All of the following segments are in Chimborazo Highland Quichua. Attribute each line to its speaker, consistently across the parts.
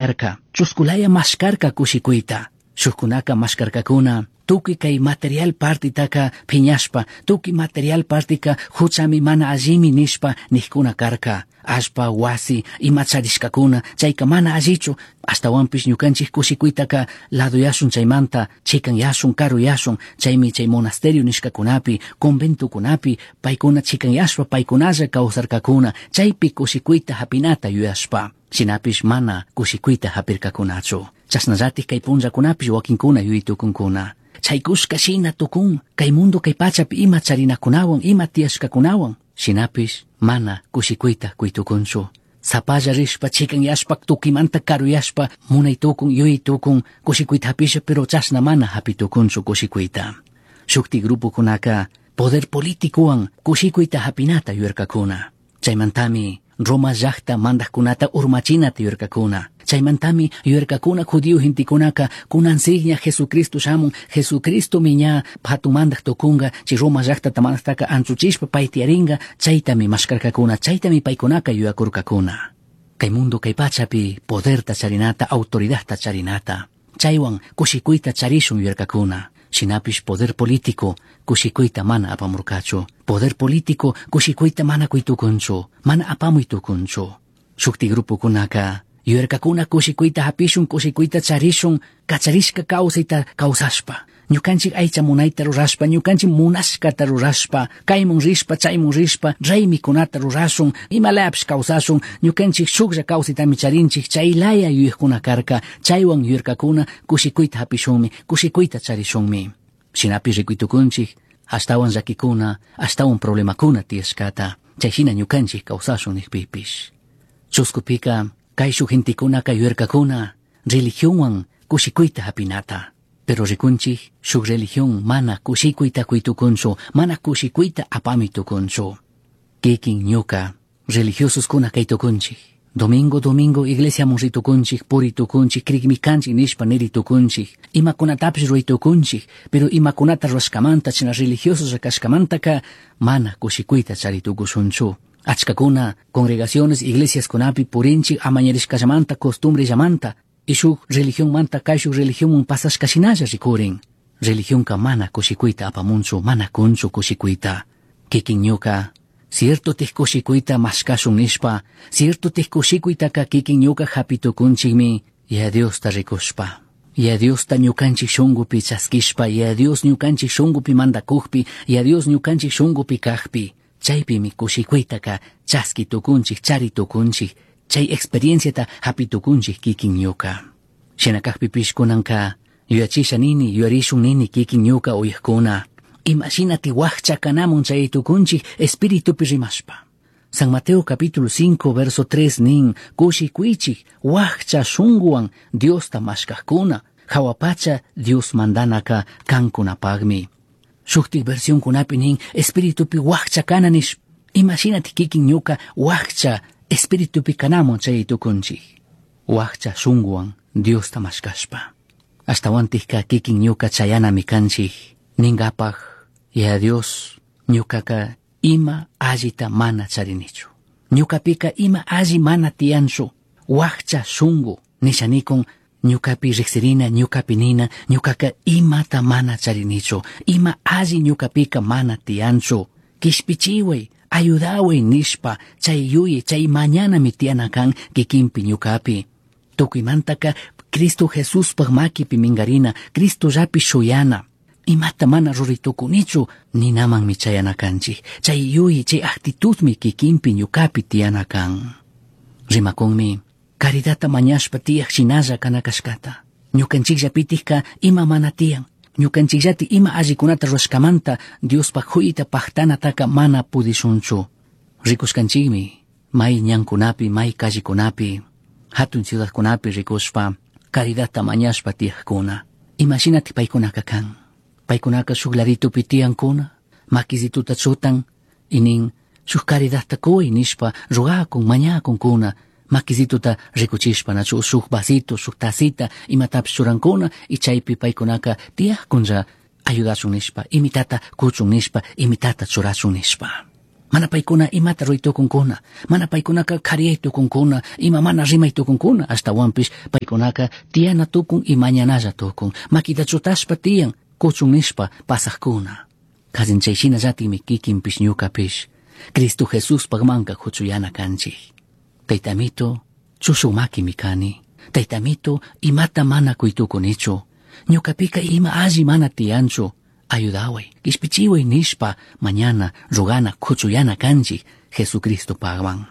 Speaker 1: Arca, chusculaya mashkarka kushikuyta. Shukkunaka mashkarkakuna, tukuy kay material partitaka piñashpa, tukuy material partika huchami mana allimi nishpa nijkuna karka. Allpa, wasi, ima charishkakuna, chayka mana allichu, ashtawanpish ñukanchik kushikuytaka ladoyashun chaymanta, chikanyashun, karuyashun, chaymi chay monasterio nishkakunapi, conventokunapi, paykuna chikanyashpa, paykunalla kawsarkakuna, chaypi kushikuyta hapinata yuyashpa. Shinapish mana kushikuyta hapirkakunachu. Chashnallatik kay punllakunapish wakinkuna yuyitukunkuna. Chaykushka shina tukun, kay mundo kay pachapi ima charinakunawan, ima tiyashkakunawan. Shinapish mana kushikuyta kuytukunchu. Sapalla rishpa, chikanyashpa, tukimanta karuyashpa, munaytukun, yuyaytukun, kushikuyta hapisha, pero chashna mana hapitukunchu kushikuyta. Shukti grupokunaka poder politicowan kushikuyta hapinata yuyarkakuna. Chaymantami Roma llaqta mandaqkunata urmachinata yuyarkakuna. Chaymantami yuyarkakuna judío gentekunaka kunansikña Jesucristo shamun, Jesucristomi ña hatun mandaq tukunga, chay Roma llaqtata mandaqtaka anchuchishpa pay tiyaringa, chaytami mashkarkakuna, chaytami paykunaka yuyakurkakuna. Kay mundo kay pachapi poderta charinata, autoridadta charinata. Chaywan kushikuyta charishun yuyarkakuna. Shinapish poder político kushikuyta mana apamurkachu. Poder político kushikuyta mana kuytukunchu, mana apamuy tukunchu. Shukti grupokunaka yuyarkakuna kushikuyta hapishun, kushikuyta charishun, kacharishka kawsayta kawsashpa. Ñukanchik aycha munayta rurashpa, ñukanchik munashkata rurashpa, kaymun rishpa, chaymun rishpa, raymikunata rurashun, imalapish kawsashun, ñukanchik shuklla kawsaytami charinchik, chaylaya yuyaqkuna karka, chaywan yuyarkakuna kushikuyta hapishunmi, kushikuyta charishunmi. Shinapish rikuytukunchik, ashtawan llakikuna, ashtawan problemakuna tiyashkata, chayshina ñukanchik kawsashun nikpipish. Chuskupika, kayshuk gentekunaka yuyarkakuna, religionwan kushikuyta hapinata. Pero rikunchik, shuk religión mana kushikuyta kuytukunchu, mana kushikuyta apami tukunchu. Kikin ñuka, religiososkuna kaytukunchik. Domingo, domingo, iglesiaman ritukunchik, puritukunchik, krikmi kanchik nishpa niritukunchik. Imakunatapish ruraytukunchik, pero imakunata rurashkamanta, china religiosos kashkamantaka, mana kushikuyta charitukushunchu. Achkakuna, congregaciones, iglesiaskunapi purinchik amañarishkallamanta, costumbrellamanta, y shuk religionmanta kayshuk religionman pasashkashinalla rikurin. Religionka mana kushikuyta apamunchu, mana kunchu kushikuyta. Kikin ñuka, cierto tih kushikuyta mashkashun nishpa, cierto tih kushikuytaka kikin ñuka hapitukunchikmi, Yaya Diosta rikushpa. Yaya Diosta ñukanchik shunkupi chaskishpa, Yaya Dios ñukanchik shunkupi mandakukpi, Yaya Dios ñukanchik shunkupi kajpi. Chaypimi kushikuytaka chaski tukunchik, chari tukunchik, chay experienciata hapitukunchik kikin ñuka. Shina kajpipish kunanka yuyachisha nini, yuyarishun nini kikin ñuka uyajkuna. Imashinati wakcha kanamun chay tukunchik espiritupi rimashpa. San Mateo capítulo 5 verso 3 nin, kushikuychik wakcha shunguwan Diosta mashkajkuna, hawa pacha Dios mandanaka kankunapagmi. Shuktik versionkunapi nin, espiritupi wakcha kana nish, imashinati kikin ñuka wakcha espiritupi kanamun chay tukunchik. Wakcha shunguwan Diosta mashkashpa. Ashtawantikka kikin ñuka chayanami kanchik, ningapaj, Yaya Dios, ñukaka ima allita mana charinichu. Ñukapika ima alli mana tiyanchu, wakcha shungu, nishanikun, ñukapi riksirina, ñukapi nina, ñukaka imata mana charinichu, ima alli ñukapika mana tiyanchu. Kishpichiway, ayudaway nishpa, chay yuyi, chay mañanami tiyana kan kikinpi ñukapi. Tukuymantaka Cristo Jesuspaj makipi minkarina, Cristollapi shuyana. Imata mana ruraytukunichu ninamanmi chayana kanchik. Chay yuyi, chay actitudmi kikinpi ñukapi tiyana kan. Rimakunmi, caridadta mañashpa tiyaj shinalla kana kashkata. Ñukanchikllapitikka ima mana tiyan. Ñukanchikllati ima allikunata rurashkamanta Diospaj huyta pajtanataka mana pudishunchu. Rikushkanchikmi, may ñankunapi, may callekunapi, hatun ciudadkunapi rikushpa, caridadta mañashpa tiyajkuna. Imashinati paykunaka kan. Paykunaka shuk laditupi tiyankuna, makisituta chutan, y nin, shuk caridadta kuy nishpa rugakun, mañakunkuna, makisituta rikuchishpa nachu shuk vasito, shuk tacita, imatapish churankuna, y chaypi paykunaka tiyajkunlla ayudashun nishpa, imitata kuchun nishpa, imitata churashun nishpa. Mana paykuna imata ruray tukunkuna, mana paykunaka kariyay tukunkuna, ima mana rimay tukunkuna, ashtawanpish paykunaka tiyana tukun y mañanalla tukun, makita chutashpa tiyan, kuchun nishpa pasajkuna. Kallin chay shinallatikmi kikinpish ñukapish, Cristo Jesuspajmanka huchuyana kanchik. Taytamito, chushu makimi kani. Taytamito, imata mana kuytukunichu. Ñukapika ima alli mana tiyanchu. Ayudaway, kishpichiway nishpa mañana rogana kuchuyana kanchik Jesucristopajman.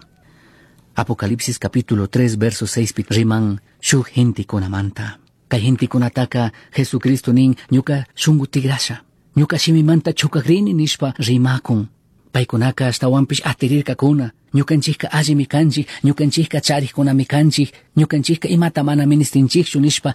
Speaker 1: Apocalipsis capítulo 3 verso 6 riman shuk gentekunamanta. Kay gentekunataka Jesucristo nin ñuka shungu tigrasha. Ñuka shimimanta chukakrini nishpa rimakun. Paykunaka ashtawanpish atirirkakuna. Ñukanchikka allimi kanchik, ñukanchikka charikkunami kanchik, ñukanchikka imata mana ministinchikchu nishpa.